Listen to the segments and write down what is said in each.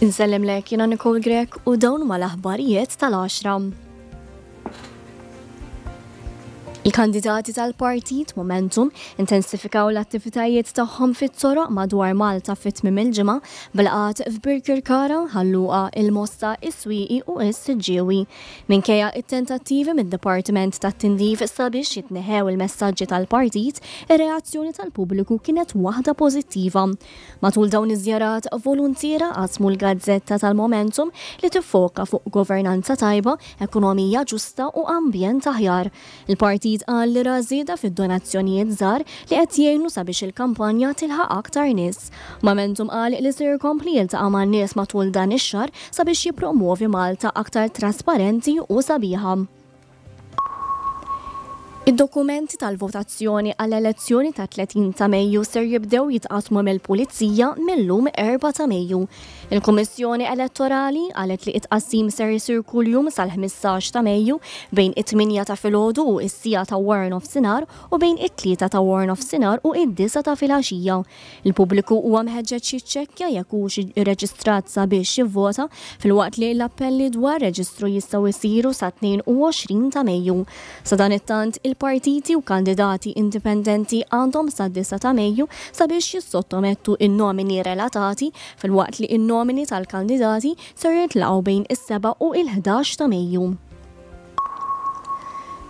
Insellimlek jiena Nicole Grech u dawn huma l-aħbarijiet tal-għaxra. Il-kandidati tal-partit Momentum intensifikaw l-attivitajiet tagħhom fit-toroq madwar Malta fi tmiem il-ġimgħa b'laqgħat f'Birkirkara, Ħal Luqa, il-Mosta, is-Swieqi u s-Siġġiewi. Minkejja t-tentattivi mid-Dipartiment tat-Tindif sabiex jitneħħew il-messaġġi tal-partit, ir-reazzjoni tal-pubbliku kienet waħda pożittiva. Matul dawn iż-żjarat, voluntiera qasmu l-gazzetta tal-Momentum li tiffoka fuq governanza tajba, ekonomija ġusta u ambjent aħjar. Il-partit qal li ra żieda fid-donazzjonijiet żgħar li qed jgħinu sabiex il-kampanja tilħaq aktar nies. Momentum qal li ser ikompli jiltaqa' man-nies matul dan ix-xahar sabiex jippromwovi Malta aktar trasparenti u sabiħa. Id-dokumenti tal-votazzjoni għall-elezzjoni tat-30 ta' Mejju ser jibdew jitqassmu mill-Pulizija mil-lum 4 ta' Mejju. Il-Kummissjoni Elettorali qalet li t-tqassim ser isir kuljum sal-15 ta' Mejju bejn it-tmienja ta' filgħodu u s-siegħa ta' waranofsinhar u bejn it-tlieta ta' waranofsinhar u id-disgħa ta' filgħaxija. Il-pubbliku huwa mħeġġeġ jiċċekkja jekk hux irreġistrat sabiex jivvota, filwaqt li l-appelli dwar reġistru jistgħu jsiru sat-22 ta' Mejju. Sadanittant, il-partiti u kandidati indipendenti għandhom sad-disgħa ta' Mejju sabiex jissottomettu n-nomini relatati, filwaqt li n-nomini tal-kandidati ser jintlaqgħu bejn is-sebgħa u l-ħdax ta' Mejju.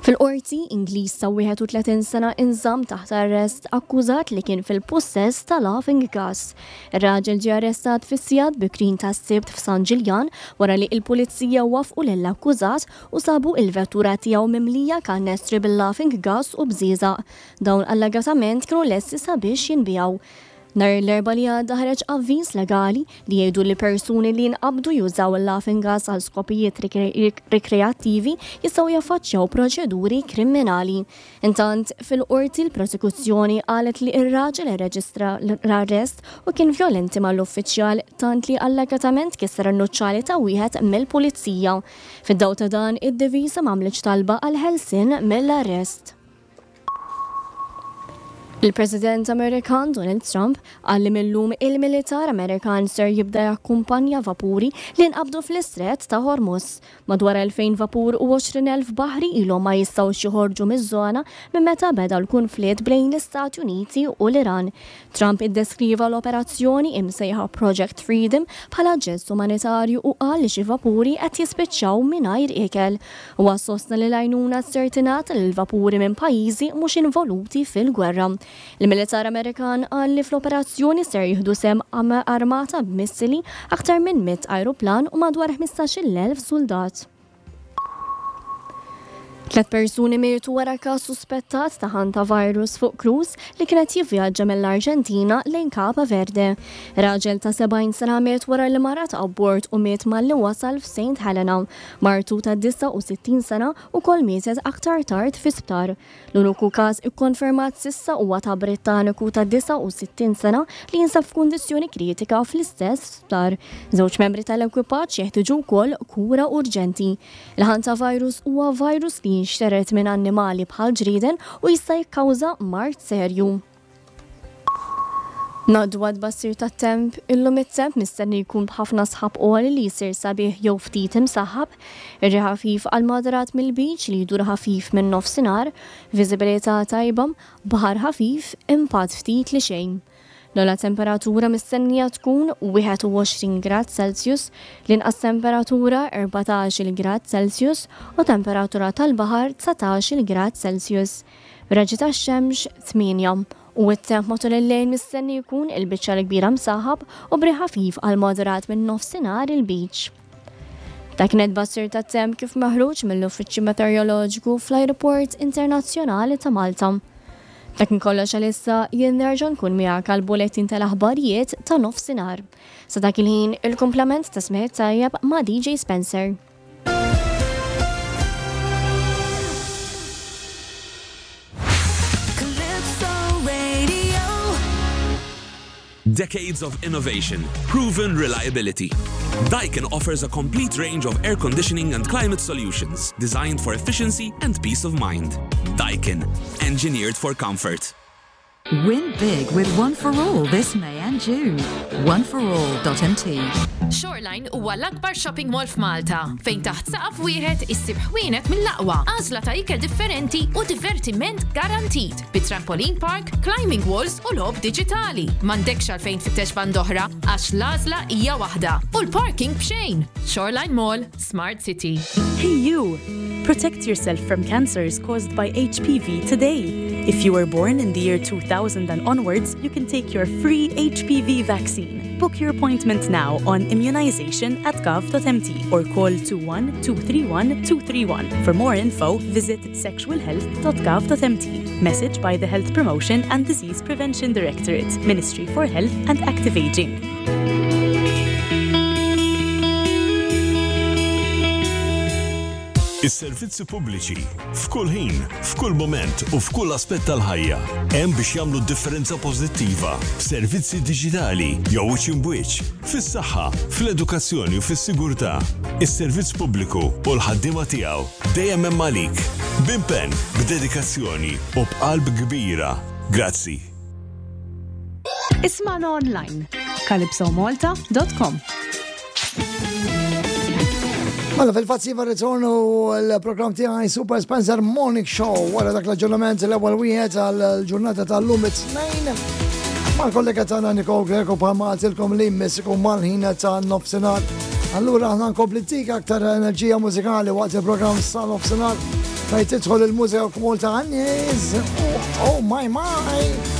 Fil-Qorti, Ingliż ta' 31 sena inżamm taħt arrest akkużat li kien fil-pussess ta' laughing gas. Ir-raġel ġie arrestat fis-sigħat bikrin tas-Sibt f'San Ġiljan wara li l-Pulizija waffqu lill-akkużat u sabu il-vettura tiegħu mimlija kannestri bil-laughing gas u bżieżaq. Dawn allegatament kienu lesti sabiex jinbiegħu. Nhar l-Erbgħa li għadda ħareġ avviż legali li jgħidu li persuni li jinqabdu jużaw il-laughing gas għal skopijiet rikreattivi jistgħu jaffaċċjaw proċeduri kriminali. Intant, fil-Qorti l-Prosekuzzjoni qalet li r-raġel irreġistra l-arrest u kien vjolenti mal-uffiċjal tant li allegatament kisser in-nuċċali ta' wieħed mill-Pulizija. Fid-dawl ta' dan, id-difiża m'għamlitx talba għall-ħelsien mill-arrest. Il-President Amerikan Donald Trump qal li mil-lum il-militar Amerikan ser jibda jakkumpanja vapuri li nqabdu fl-Istrett ta' Hormuz. Madwar 2,000 vapur u 20,000 baħri ilhom ma jistgħux joħorġu miż-żona minn meta beda l-kunflitt bejn l-Istati Uniti u l-Iran. Trump iddeskriva l-operazzjoni imsejħa Project Freedom bħala ġest umanitarju u qal li xi vapuri qed jispiċċaw mingħajr ikel. Huwa sostna li l-għajnuna ser tingħata lil vapuri minn pajjiżi mhux involuti fil-gwerra. Il-militar Amerikan qal li fl-operazzjoni ser jieħdu sehem armata b'missili, aktar minn 100 ajruplan u madwar 15,000 suldat. Tlet persuni mietu wara każ suspettat ta' hantavirus fuq cruise li kien qed jivvjaġġa mill-Arġentina lejn Capa Verde. Raġel ta' 70 sena miet wara li marad abbord u miet malli wasal f'Saint Helena. Martu ta' 69 sena wkoll mietet aktar tard fi sptar. L-uniku każ ikkonfermat s'issa huwa ta' Brittaniku ta' 69 sena li jinsab f'kundizzjoni kritika fl-istess sptar. Żewġ membri tal-ekwipaġġ jeħtieġu wkoll kura urġenti. Il-hantavirus huwa virus li jinxtered minn annimali bħal ġrieden u jista' jikkawża mard serju. Ngħaddu għat-tbassir tat-temp, illum it-temp mistenni jkun b'ħafna sħab għoli li jsir sabiħ jew ftit imsaħħab, ir-riħ ħafif għal moderat mill-Lbiċ li jdur ħafif min-Nofsinhar, viżibilità tajba, baħar ħafif, impatt ftit li xejn. L-ogħla temperatura mistennija tkun 21 grad Celsius, l-inqas temperatura 14-il grad Celsius u temperatura tal-baħar 19-il grad Celsius. Raġġi tax-xemx 8. U t-temp matul il-lejl mistenni jkun il-biċċa l-kbira msaħħab u b'riħ ħafif għal moderat minn nofsinhar il-Lbiċ. Dak kien it-tbassir tat-temp kif meħruġ mill-Uffiċċju Meteoroloġiku fl-Ajruport Internazzjonali ta' Malta. Dak kien kollox għalissa, jien nerġa' nkun miegħek għall-bulettin tal-aħbarijiet ta' nofsinhar. Sa dak il-ħin, il-kumplament ta' smigħ tajjeb ma' DJ Spencer. Decades of innovation, proven reliability. Daikin offers a complete range of air conditioning and climate solutions designed for efficiency and peace of mind. Daikin, engineered for comfort. Win big with One for All this May and June. Oneforall.mt. Shoreline huwa l-akbar shopping mall f'Malta, fejn taħt saqaf wieħed issib ħwienet mill-aqwa, għażla ta' ikel differenti u divertiment garantit bi trampoline park, climbing walls u logħob diġitali. M'għandekx għalfejn tfittex band'oħra għax l-għażla hija waħda u l-parking b'xejn. Shoreline Mall, Smart City. Hey you! Protect yourself from cancers caused by HPV today. If you were born in the year 2000 and onwards, you can take your free HPV vaccine. Book your appointment now on immunization at gov.mt or call 21 231 231. For more info, visit sexualhealth.gov.mt. Message by the Health Promotion and Disease Prevention Directorate, Ministry for Health and Active Aging. Is-servizzi pubbliċi, f'kull ħin, f'kull mument u f'kull aspett tal-ħajja, hemm biex jagħmlu differenza pożittiva f'servizzi diġitali jew wiċċ imbwiċċ, fis-saħħa, fl-edukazzjoni u fis-sigurtà. Is-servizz pubbliku u l-ħaddiema tiegħu dejjem hemm għalik, b'impenn, b'dedikazzjoni u b'qalb kbira. Grazzi. Ismagħna online calypsomalta.com. Mela fil-fatt siva ritornu l-programm tiegħi Super Spencer Morning Show wara dak l-aġġornament l-ewwel wieħed għall-ġurnata tal-lum it-tnejn. Mal-kollega tagħna Nicole Greco bħalma għaltilkom li jmiss ikun mal-ħin ta' nofsinhar. Allura aħna nkompli tik aktar enerġija mużikali waqt il-programm sa nofsinhar fejn tidħol il-mużika kmol ta' għannies. Oh my my!